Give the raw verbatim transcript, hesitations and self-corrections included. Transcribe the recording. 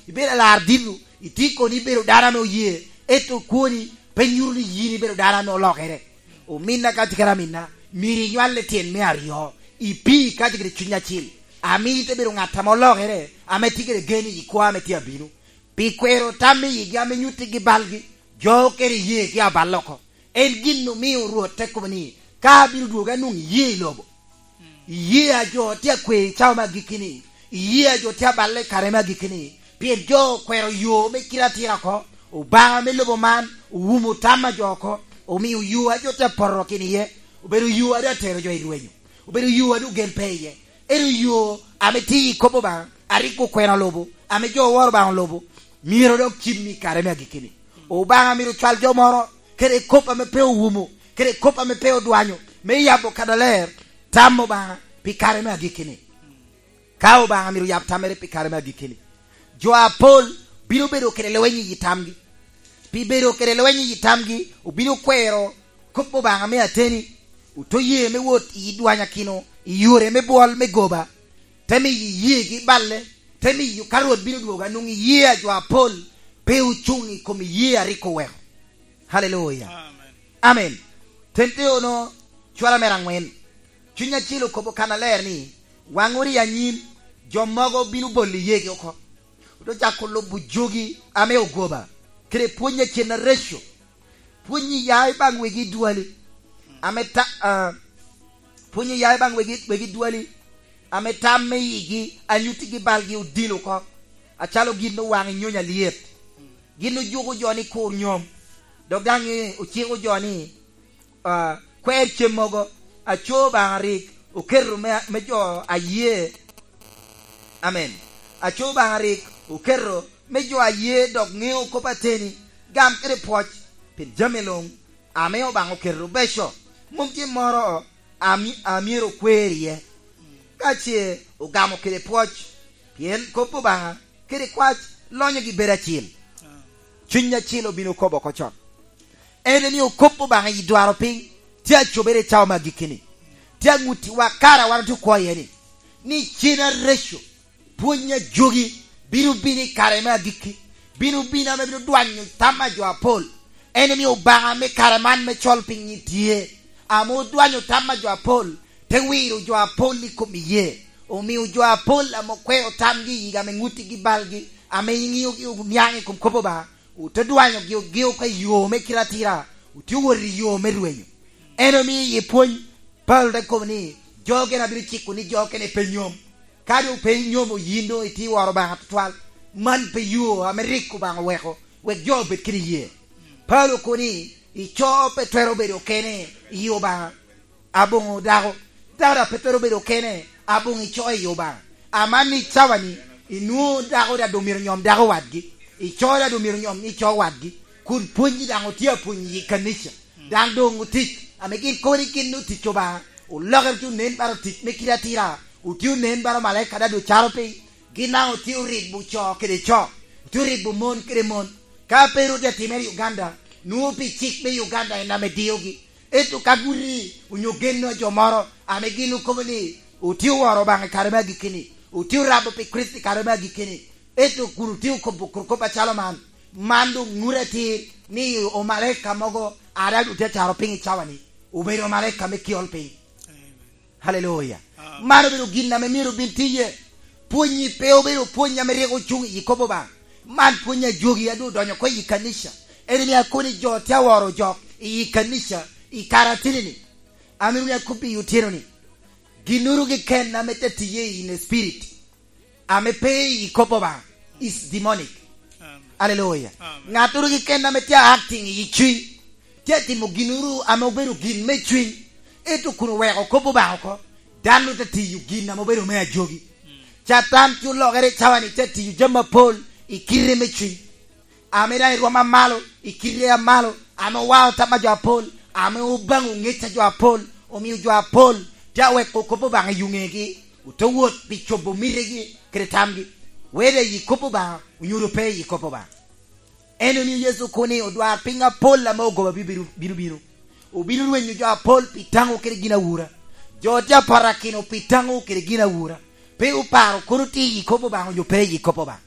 Ibedo alar dito, itye kono ibedo dano ame oye, ento kwoni pe nyuto ni yin ibedo dano ame olokere. Ominna ka tye kede aminna, myero inywal i tyen me aryo, ipii ka tye kede cuny acil, ame ite bedo ŋat ame olokere, ame tye kede gen i kwo ame tye abino. Pi kwero tam i yigi ame nyuttigi balgi, jo kede iyegi abal oko. En gin omio Rwot te kobo ni, "Ka abino dwogo anwoŋo iye i lobo." Iye a jo tye akwe i cawa me agikki-ni, iye a jo tye aballe i kare me agikki-ni, pien jo okwero yo me kite atira oko. Obaŋa me lobo man owumo tam a jo oko, omio yo a jo tye apoto kin iye, obedo yo a doŋ atero jo i rwenyo, obedo yo a doŋ gel pe iye. Ento yo ame tye i kop Obaŋa, a rik okwena olubo, ame jo oworo Obaŋa olubo, myero dok cim i kare me agikki-ni. Obaŋa myero cwal jo moro, kede kop ame pe owumo, kede kop ame pe odwanyo, me yabo kadaler tam Obaŋa pi kare me agikki-ni. Ka Obaŋa myero yab tammere pi kare me agikki-ni, jo apol bino bedo kede lweny i yi tamgi. Pi bedo kede lweny i yi tamgi, obino kwero kop Obaŋa me ateni, oto ye me wot i dwanyakino, i yore me bwol me goba, te miyo iyeegi balle, te miyo ka Rwot bino dwogo, anwoŋo iye a jo apol pe ocuŋ i kom iye a rik oweko. Haleluya. Amen. Amen. Tenteo-no, cwara mere aŋwen. Cuny Acil okobo kannaler ni, "Waŋ ori anyim, jo mogo bino bolo iyeegi oko." Ote cako lubo jogi ame ogoba, kede pwony a cen areco. Pwony i ya i baŋ wegi dwali, ame ta-, ah, pwony i ya i baŋ wegi, wegi dwali, ame tam me yigi a nyuttigi balgi odilo oko, acalo gin owaŋ i nyony alyet. Gin ojuko jo ni kur nyom, dok daŋ ociko jo ni, ah, kwer cem mogo, aco Obaŋa rik oketo me, me jo aye. Amen. Aco Obaŋa rik oketo me jo aye dok ŋeo kop ateni, gam kede pwoc, pien jami luŋ ame Obaŋa oketo beco, mom tye moro ami-, a myero okwer iye. Ka ce ogamo kede pwoc, pien kop Obaŋa kede kwac lonyogi bedo acil. Cuny Acil obino kobo oko con. En ni okop Obaŋa i dwaro piny tye acobere i cawa me agikki-ni. Tye aŋuttiwa kara wan otye okwo iye ni, ni cen areco, pwony a jogi bino bino i kare me agikki, bino bino ame bino dwanyo tam a jo apol. En omio Obaŋa me kare man me col piny tye, ame odwanyo tam a jo apol, te wiro jo apol i kom iye. Omio jo apol ame okweo tamgi i yiga ame ŋuttigi balgi, ame iŋiogi oniaŋ i kom kop Obaŋa, ote dwanyogi ogeo ka i yo me kite atira, otye owot i yo me rwenyo. En omio i pwony, Paulo te kobo ni, "Jo okene abino ciko ni jo okene pe nyom." Ka doŋ pe inyomo, yin doŋ itye woro Obaŋa tutwal. Man pe yo ame rik Obaŋa oweko wek jo obed kede iyee. Paulo okobo ni, "Ico pe twero bedo kene i Obaŋa aboŋo dako, dako daŋ pe twero bedo kene aboŋo ico i Obaŋa." Aman ni cawa-ni, inwoŋo dako daŋ doŋ myero nyom dako wadgi, ico daŋ doŋ myero nyom ico wadgi, kun pwony daŋ otye apwony i kanica. Daŋ doŋ otic, ame gin kobo ni gin otic Obaŋa, olokere tye onen bala otic me kite atira, otye onen bala omalaika daŋ doŋ caro piny, gin daŋ otye oribo co kede co, otye oribo mon kede mon. Ka pe rwot atimere i Uganda, nwoŋo pi cik me Uganda en ame diogi. Ento ka guti onyo geno a jo moro ame gin okobo ni otye oworo Obaŋa i kare me agikki-ni, otye orabo pi Kricito i kare me agikki-ni, ento kun otye okobo kor kop acalo man, man doŋ ŋut atir ni omalaika mogo a daŋ otye acaro piny i cawa-ni, obedo omalaika me kiol piny. Haleluya. Amen. Man obedo gin ame myero obin tiye. Pwonyi pe obedo pwony ame rik ocuŋ i kop Obaŋa. Man pwony a jogi a doŋ odonyo oko i kanica. En ni akoni jo tye aworo jok i kanica i kare ateni-ni. Amito ni akobbi i otyeno-ni, ginnoro keken ame te tiye in spirit, ame pe i kop Obaŋa, is demonic. Amen. Aleluya. Amen. Ŋattoro keken ame tye acting i cuny, tye atimo ginnoro ame obedo gin me cuny, ento kun oweko kop Obaŋa oko, dano te tiyo gin ame obedo me ajogi. Mm. Catan tye olokere i cawa-ni, tye atiyo jami apol i kite me cuny, ame daŋ irwom amalo, i kite amalo, ame owao tam a jo apol, ame obaŋo ŋec a jo apol, omio jo apol tye aweko kop Obaŋa i ŋegi, ote wot pi cobo mitegi kede tamgi, wede i kop Obaŋa onyo pe i kop Obaŋa. En omio Yecu okobo ni odwarpiny apol ame ogoba bino, bino bino. Obino rwenyo jo apol pi taŋo kede ginawura. Jo tye aparakino pi taŋo kede ginawura. Pe oparo kono tye i kop Obaŋa onyo pe i kop Obaŋa.